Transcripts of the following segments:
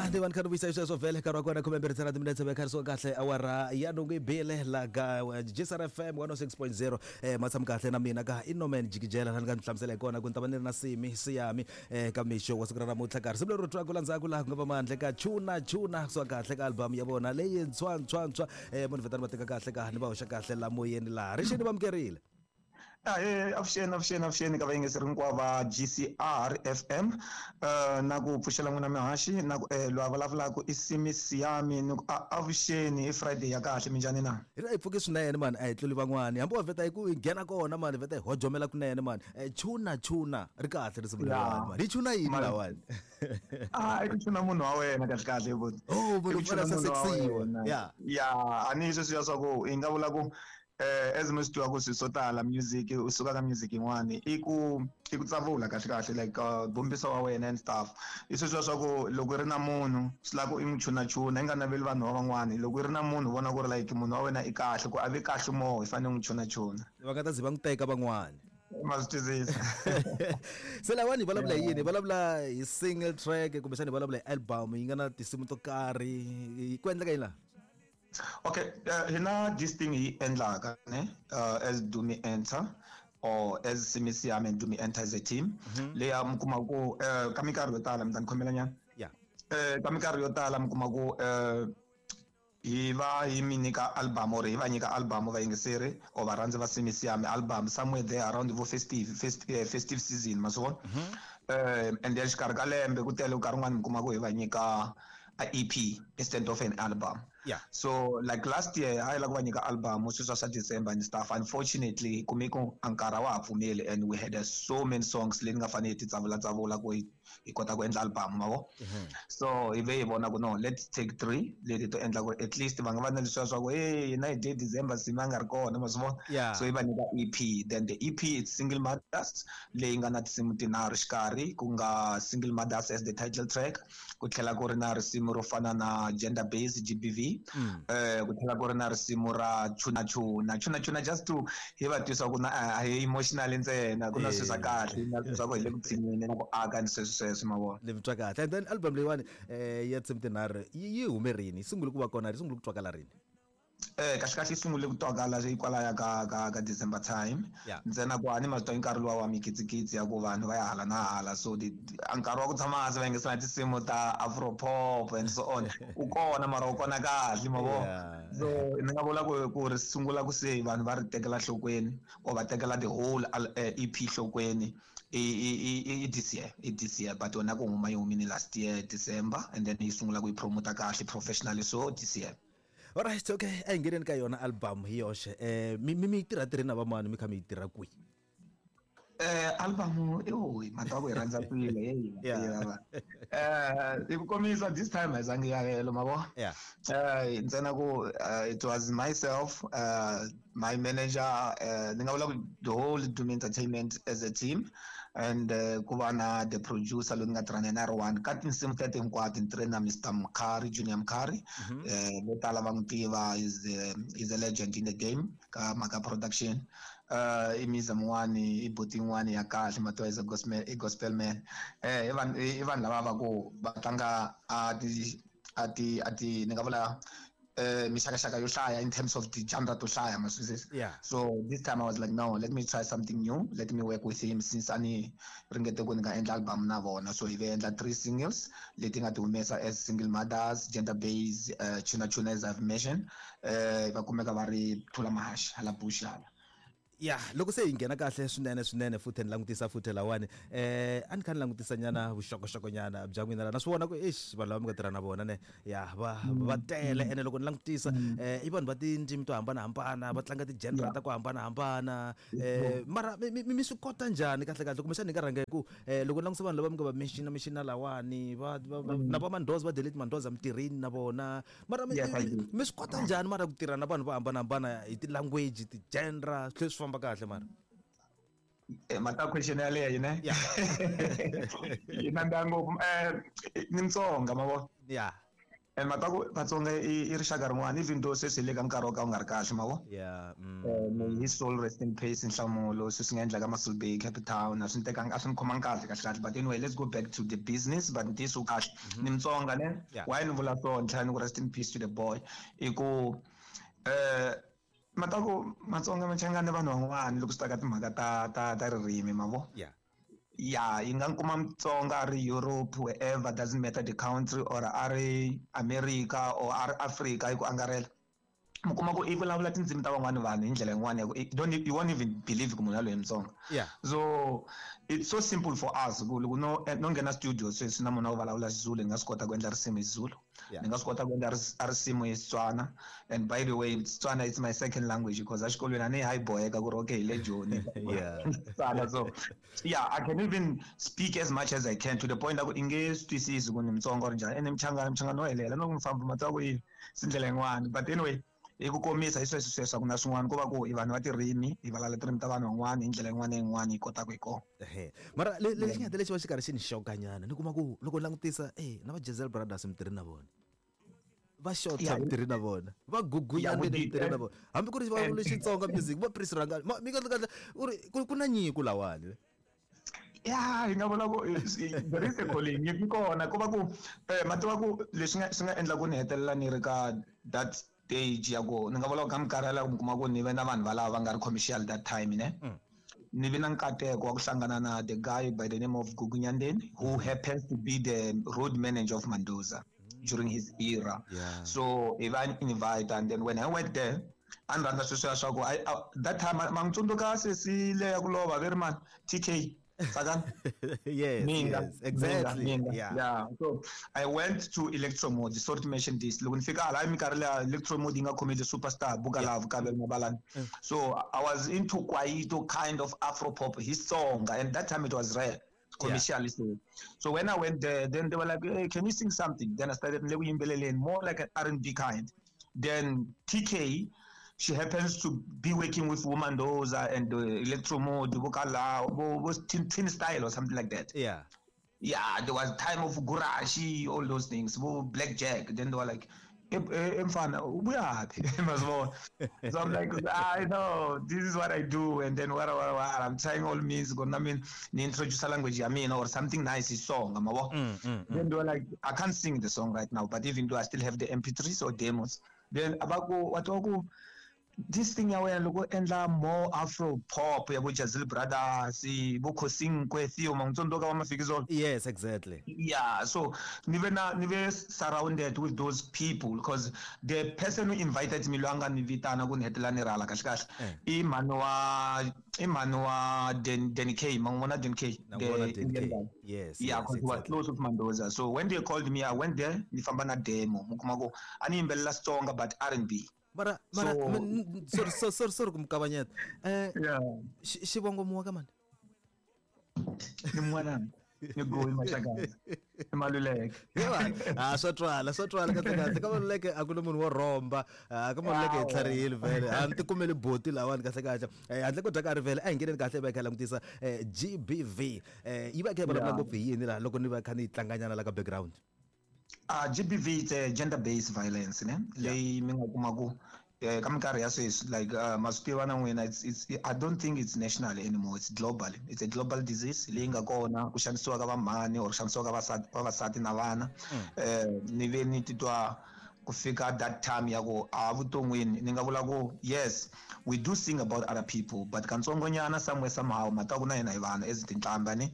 Ya ni va ni kha ni vuyisa hi sweswo vhele nkarhi wa kona 12 ntsena timinetse ve kharisiwa kahle awara ya nhungu yi bile la ka GCR FM 106.0. Ma tshami kahle na mina ka Inoman Jikijela, la ni nga ni hlamusela hi kona ku ni ta va ni ri na Simi Siyami ka mixo wa siku ra namuntlha. Ka risimu leri ri twaka la ndzhaku laha ku nga va mandle ka Chuna Chuna, kusuka kahle ka album ya vona leyi ntshwa munhu vhetani va teka kahle ka ni va hoxa kahle la moyeni laha rixini va amukerile. Ahee, avuxeni, avuxeni, avuxeni ka vayingiseri hinkwavo va GCR FM, na ku pfuxela n'wina mihaxi na ku loyi a vulavulaka i Simi Siyami, ni ku a avuxeni, i Friday ya kahle, minjhani na? Hi ri a hi pfuki swinene mani, a hi tluli van'wani, hambi wa vheta hi ku hi nghena kona mani, vheta hi hojomela kunene mani. Chuna chuna ri kahle risimu leriwani mani, hi chuna yini lawani? A i ku chuna munhu wa wena kahle kahle buti. Oh, munhu I ku chuna u fanele a munhu wa sasekisiwa. wena. Ya. Ya, a ni sweswiya swa ku hi nga vula ku as mi swi tiva ku swilo swo tala music u suka ka music yin'wani i ku tsavula kahle kahle, like bombisa wa wena and stuff. I sweswiya swa ku loko i ri na munhu swi lava ku i n'wi chunachuna, i nga naveli vanhu va van'wani. Loko i ri na munhu u vona ku ri like munhu wa wena i kahle, ku a vi kahle more, i fanele u n'wi chunachuna. Va nga ta ze va n'wi teka van'wani. Ma swi twisisa? Se lawani hi vulavula hi yini? Hi vulavula hi single track kumbexana hi vulavula hi album yi nga na tinsimu to karhi? Ku endleka yini laha? Okay, hina this thing hi endlaka ne, as Dumi Enter or as Simi Siyami and Dumi Enter as a team, leyi mi kuma ku ka minkarhi yo tala, mi ta ni khomela nyana. Ka minkarhi yo tala mi kuma ku hi va hi mi nyika album or hi va nyika album vayingiseri or varhandzi va Simi Siyami album somewhere there around vo festive season, ma swi vona? And then xikarhi ka lembe ku tele nkarhi wun'wani mi kuma ku hi va nyika a EP instead of an album. So like last year a hi lava ku va nyika album sweswiya swa December and stuff. Unfortunately kume ku a nkarhi a wa ha pfumeli and we had so many songs leti nga fanele hi ti tsavula tsavula ku hi kota ku endla album, ma vo? So hi ve hi vona ku no, let's take three leti to endla ku at least va nga va na leswiya swa ku hey, hina hi dye December, Simi a nga ri kona, ma swi vona? So hi va nyika EP. Then the EP, it's Single Mothers, leyi nga na tinsimu tinharhu xikarhi, ku nga Single Mothers as the title track, ku tlhela ku ri na risimu ro fana na gender based GBV, ku tlhela ku ri na risimu ra Chuna Chuna, Chuna Chuna, just to hi va twisa ku na a hi emotional ntsena, ku na swilo swa kahle na swilo swa ku hi le ku tshineni na ku aka ni sweswo sweswo, ma vona? Ni twa kahle. And then album leyiwani ya tinsimu tinharhu yi hume rini? Yi sungule ku va kona, yi sungule ku twakala rini? Kahle kahle yi sungule ku twakala kwalaya ka December time. Ntsena ku a ni ma swi tiva nkarhi luwa wa mikitsikitsi ya ku vanhu va ya hala na hala, so a nkarhi wa ku tshama hansi va yingisela tinsimu ta afro pop and so on u kona, mara u kona kahle, ma vo? So ni nga vula ku ri sungula ku se vanhu va ri tekela nhlokweni or va tekela the whole EP nhlokweni i this year, i this year, but yona ku huma yi humile last year December and then yi sungula ku yi promota kahle professionally so this year. Alright, okay, a hi ngheneni ka yona album hi yoxe. Mi yi tirha tirheni na vamani, mi kha mi yi tirha kwihi? Album i mhaka ku hi rhandza kwile hey. Hi ku komisa, this time a hi zangi ya helo, ma vo? Ntsena ku it was myself, my manager, ni nga vula ku the whole Dumi Entertainment as a team, and ku va na the producer loyi ni nga tirha na yena a ri one ka tinsimu tete hinkwato. Ni tirhe na Mr Mkhari, Junior Mkhari. Vo tala va n'wi tiva, is a legend in the game ka mhaka production. I miza mun'wani, i buti yin'wani ya kahle, matiwa, is a gospel, i gospel man. I vanhu lava va ku va tlanga a ti ni nga vula mixakaxaka yo hlaya in terms of ti-genre to hlaya, ma swi twisisa? So this time I was like, no, let me try something new, let me work with him since a ni ringete ku ni nga endla album na vona. So hi ve endla three singles leti nga ti humesa as Single Mothers, Gender Base, Chuna Chuna, as I've mentioned. Va kumeka va ri Thula Mahashi hala Bush hala. Ya, loko se hi nghena kahle swinene swinene futhi ni langutisa futhi lawani, a ni kha ni langutisa nyana vuxokoxoko nyana bya n'wina la, na swi vona ku eish, vanhu lava mi nga tirha na vona ne, ya va tele. Ene loko ni langutisa, i vanhu va tindzimi to hambanahambana, va tlanga ti-genre ta ku hambanahambana. Mara mi swi kota njhani kahle kahle? Kumbexana hi nga rhanga hi ku loko ni langutisa vanhu lava mi nga va mention lawani na va Mandoza, va Delete Mandoza, mitirhini na vona, mara Yes, I do. mi swi kota njhani mara ku tirha na vanhu vo hambanahambana hi ti-language, ti-genre, swi tlhela swi famba kahle mara? Mata question yaleyo ne. Yi nandziha ngopfu. Ni Mutsonga, ma vo? And mataku Vatsonga i rixaka rin'wana, even though sweswi hi le ka nkarhi wo ka wu nga ri kahle, ma vo. May his soul rest in peace. Nhlamulo sweswi nga endlaka Mossel Bay, Cape Town, a swi ni tekanga, a swi ni khomangi kahle kahle kahle. But anyway, let's go back to the business. But ntiyiso wu kahle, ni Mutsonga ne. Why ni vula so, ni tlhela ni ku rest in peace to the boy, i ku mataku Matsonga Machangani vanhu van'wana loko swi ta ka timhaka ta ririmi, ma vo. Yeah, yi nga kuma Mutsonga a ri Europe, wherever, doesn't matter the country, or a ri America or a ri Africa hi ku angarhela, mi kuma ku i vulavula tindzimi ta van'wani vanhu hi ndlela yin'wana ya ku don't, you won't even believe ku munhu yaloye Mutsonga. So it's so simple for us ku loko no nghena studio sweswi na munhu a vulavula Xizulu, ni nga swi kota ku endla risimu hi Xizulu. Ni nga swi kota ku endla risimu hi Xitswana. And by the way, Xitswana, it's my second language, because exikolweni a ni hayi boheka ku ri okay hi le Joni. Xitswana. So yeah, I can even speak as much as I can to the point ku i nge swi twisisi ku ni Mutsonga or njhani. Ene Mchangani wo helela no n'wi famba matsongo ku yini si ndlela yin'wani. But anyway, hi ku komisa hi sweswo sweswo, a ku na swin'wana, ko va ku hi vanhu va tirimi, hi vulavula tirimi ta vanhu van'wana hi ndlela yin'wana na yin'wana hi kotaka hi kona. Ehe. Mara lexi nga lexi va xi karhi xi ni xokanyana, ni kuma ku loko ni langutisa, na va Jezel Brothers mi tirhi na vona, va Shota mi tirhi na vona, va Gugunyane mi tirhi na vona, hambi ku ri va vula Xitsonga music, va Prince Rhangani, mi kahle kahle u ri ku na nyiko lawani. Ya, hi nga vula ku there is a calling yi kona, ko va ku ma tiva ku leswi nga swi nga endla ku ni hetelela ni ri ka that stage ya ku ni nga vula ku ka minkarhi yaleyo mi kuma ku ni ve na vanhu valava va nga ri commercial that time, ne. Ni vi na nkateko wa ku hlangana na the guy by the name of Gugu Nyandeni, who happens to be the road manager of Mandoza during his era. So hi va invite, and then when I went there, a ni rhandza sweswiya swa ku that time ma n'wi tsundzuka sesi leya ku lova ve ri mani, TK Tsakani? Yes, Minga, yes, exactly. Minga, Minga. Yeah. So I went to Electromode, sorry to mention this. Loko ni fika hala minkarhi leya Electromode yi nga khomile Superstar, Buka Love, Kabelo Mabalane. So I was into kwaito kind of Afro pop, his song, and that time it was rare. Commercially. So. So when I went there, then they were like, hey, can you sing something? Then I started yimbeleleni, more like an R&B kind. Then TK, she happens to be working with Womandoza and the Electromode, Bukala, Twin Style or something like that. Yeah, there was time of Gurashi, all those things, Black Jack. Then they were like, mfana, ubuyaphi? So I'm like, I know, this is what I do. And then what, I'm trying all means, I mean, introduce a language, I mean, or something nice is song. Then they were like, I can't sing the song right now, but even though I still have the MP3s or demos. Then abako, what this thing ya wena loko endla more Afro pop ya bo Jazil Brothers, bo Khosinkwe, Theo Mangtsondoka wa Mafikizolo. Yes, exactly. Yeah, so ni ve na ni ve surrounded with those people, because the person who invited me lwanga ni vitana ku ni hetela ni rhala kahle kahle. I mhani wa, i mhani wa Den K, mangwana Den K, Na vona the Den Indian K. guy. Yes, Yeah, yes, because he was exactly. close with Mandoza. So when they called me, I went there, ni famba na demo. Mukuma ku a ni yimbelela Xitsonga but R&B. Mara, mara, So sorry, sorry, sorry, sorry ku mi kavanyeta. Yeah. Xivongo muwa ka mani? Ni n'wana. Ni goyi Maxakadzi. I Maluleke. Yeba, swa twala, swa twala kahle kahle. Ka Maluleke a ku na munhu wo rhomba. Ka Maluleke hi tlharihile vhele. A ni ti kumeli boti lawani kahle kahle. Handle ko dya nkarhi vhele, a hi ngheneni kahle hi va hi kha hi langutisa, GBV. Yi va yi kha yi vulavula ngopfu hi yini laha loko ni va kha ni yi tlanganyana la ka background? GBV it's a gender-based violence, ne? Leyi mi nga kuma ku, ka minkarhi ya sweswi, like, ma swi tiva na n'wina, I don't think it's national anymore, it's global. It's a global disease leyi nga kona, ku xanisiwa ka vamhani or ku xanisiwa ka vavasati na vana. Ni ve ni titwa ku fika that time ya ku a vuton'wini ni nga vula ku yes, we do sing about other people, but kantsongonyana somewhere somehow mata ku na hina hi vanhu as tinhlamba ni.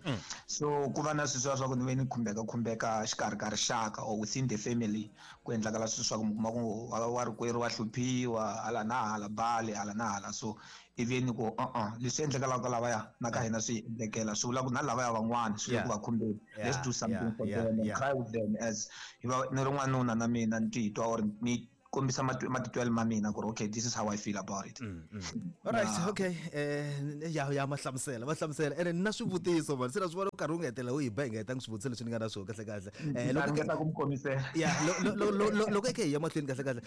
So ku va na sweswiya swa ku ni ve ni khumbeka khumbeka xikarhi ka rixaka or within the family, ku endlakala sweswi swa ku mi kuma ku wa rikwerhu wa hluphiwa hala na hala, bale hala na hala. So ivi ni ku uh-uh, leswi endlekelaka ka lavaya na ka hina swi endlekela, swi vula ku na lavaya van'wana swi le ku va khumbeni. Let's do something for them and cry with them as hi va ni ri n'wanuna na mina ni titwa or ni kombisa matitwelo ma mina ku ri okay, this is how I feel about it. All right, okay. Ya, ya, ma hlamusela, ma hlamusela. Ene ni na swivutiso man, se na swi vona nkarhi wu nga hetelela wu hi ba hi nga hetangi swivutiso leswi ni nga na swona kahle kahle. Ni ringeta ku mi komisela. Ya, loko hi kha hi ya mahlweni kahle kahle,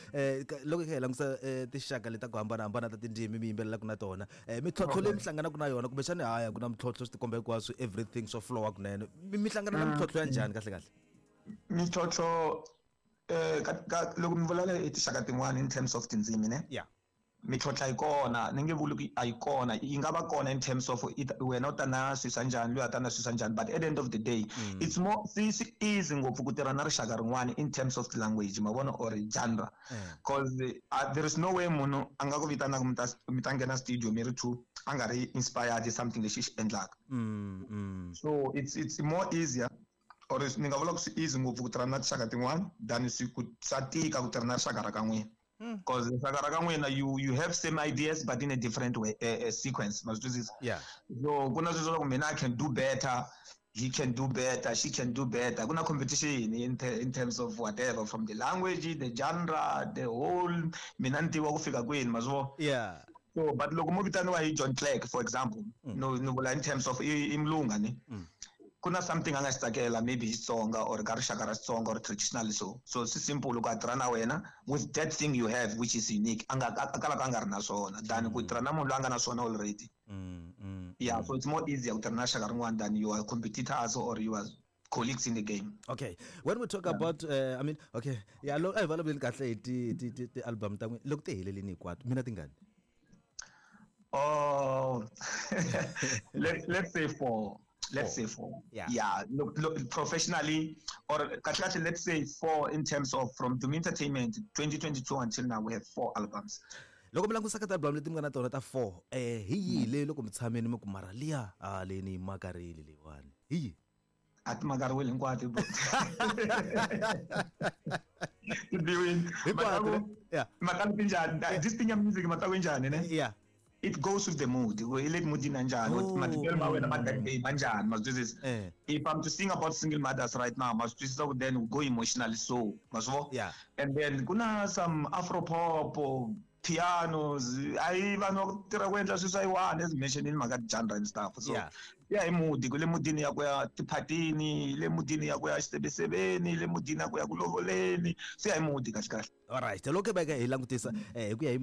loko hi kha hi langutisa, tinxaka leti ta ku hambanahambana ta tindzimi mi yimbelelaka na tona, mintlhontlho leyi mi hlanganaka na yona, kumbexani haya ku na mintlhontlho swi tikomba hinkwaswo, everything swa flowa kunene. Mi hlangana na mintlhontlho ya njhani kahle kahle? Mintlhontlho Loko mi vulavula hi tinxaka tin'wani in terms of tindzimi ne? Yeah. Mintlhontlho yi kona, ni nge vuli ku a yi kona, yi nga va kona in terms of wena u ta na swilo swa njhani, loyi a ta na swilo swa njhani, but at the end of the day it's more swi easy ngopfu ku tirha na rixaka rin'wana in terms of language, ma vona, or genre, because there is no way munhu a nga ku vitanaka mi ta nghena studio mi ri two a nga ri inspired hi something lexi xi endlaka. So it's more easier, or ni nga vula ku swi easy ngopfu ku tirha na tinxaka tin'wana than swi ku swa tika ku tirha na rixaka ra ka n'wina. Because rixaka ra ka n'wina, you have same ideas but in a different way, sequence, ma swi twisisa? Yeah. So ku na sweswo swa ku mina I can do better, he can do better, she can do better. Ku na competition in terms of whatever, from the language, the genre, the whole mina ni tiva ku fika kwini, ma swi vona? Yeah. So but loko mo vitaniwa hi John Clerk, for example, no, no vula in terms of i mulunga ni. Ku na something a nga xi tsakela, maybe Xitsonga or ka rixaka ra Xitsonga or traditional, so swi simple ku a tirha na wena with that thing you have which is unique, a nga a kalaka a nga ri na swona than ku tirha na munhu loyi a nga na swona already. Yeah, so it's more easier ku tirha na rixaka rin'wana than your competitors or your colleagues in the game. Okay, when we talk about, I mean, okay, yeah, lo a hi vulavuleni kahle hi ti album ta n'wina loko ti helelini hinkwato, mina tingani? Oh, let's say four. Let's say four. Yeah. Yeah. Look, look, professionally, or kahle, let's say four in terms of from Dumi Entertainment 2022 until now, we have 4 albums. Loko mi langutisa ka ti-album leti mi nga na tona ta 4, hi yihi leyi loko mi tshameni mi ku mara liya, a leyi ni yi makarile leyiwani, hi yihi? A ti makariwile hinkwato, bro. Ti biwile. Hinkwato, ne? Yeah. Mhaka ti njhani? This thing ya music, mhaka ku njhani, ne? Yeah. It goes with the mood. I le mood na njhani? Oh. Matitwelo ma wena ma that day ma njhani? Ma swi twisisa? If I'm to sing about single mothers right now, ma swi twisisa ku then we go emotionally, so ma swi vona? Yeah. And then ku na some afro pop, pianos, ayi vanhu va ku tirha ku endla swilo swa yiwani, as mentioned in mhaka genre and stuff. So yeah, hi mood, ku le moodini ya ku ya tiphatini, le moodini ya ku ya xisebesebeni, le moodini ya ku ya ku lovoleni. So yeah, hi mood kahle kahle. All right, loko hi veka hi langutisa hi ku ya hi